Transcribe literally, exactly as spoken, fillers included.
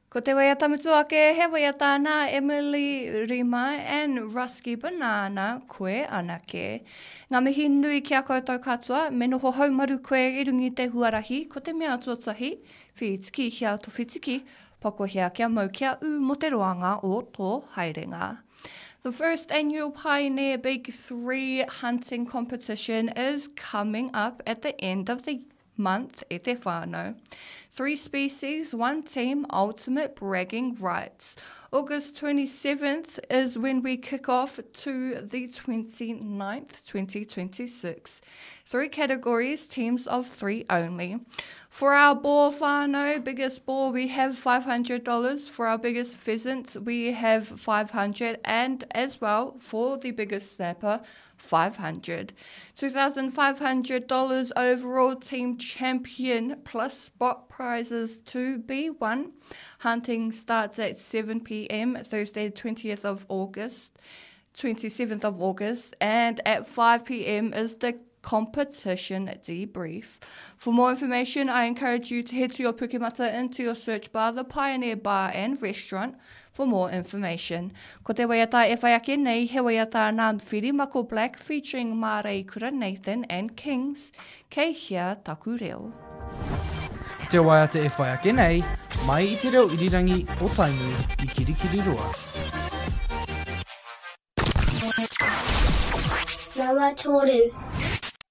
Ko te waiata mutu ake, he waiata nā Emily Rima and Rusky Banana, Koe Anake. Ngā mihi nui ki a koutou katoa, me noho haumaru koe i runga i te huarahi, ko te mea tuatahi, whitikihia to whitiki, pakohia kia mau kia ū mō te roanga o tō haerenga. The first annual Pioneer Big Three hunting competition is coming up at the end of the month e te whānau. Three species, one team, ultimate bragging rights. August twenty-seventh is when we kick off to the twenty-ninth, twenty twenty-six. Three categories, teams of three only. For our boar whānau, biggest boar, we have five hundred dollars. For our biggest pheasant, we have five hundred and as well for the biggest snapper, five hundred. two thousand five hundred dollars overall team champion plus spot prizes to be won. Hunting starts at seven p m. Thursday, twentieth of August, twenty-seventh of August, and at five p m is the competition debrief. For more information, I encourage you to head to your Pukemata into your search bar, the Pioneer Bar and Restaurant, for more information. Ko te waiata e whai ake nei, he waiata nā Whirimako Black featuring Marei Kura Nathan and Kings, Kei Hea Taku Reo. Te waiata e whai ake nei, mai i te reo irirangi o Tainui i Kirikiriroa. Nama toru.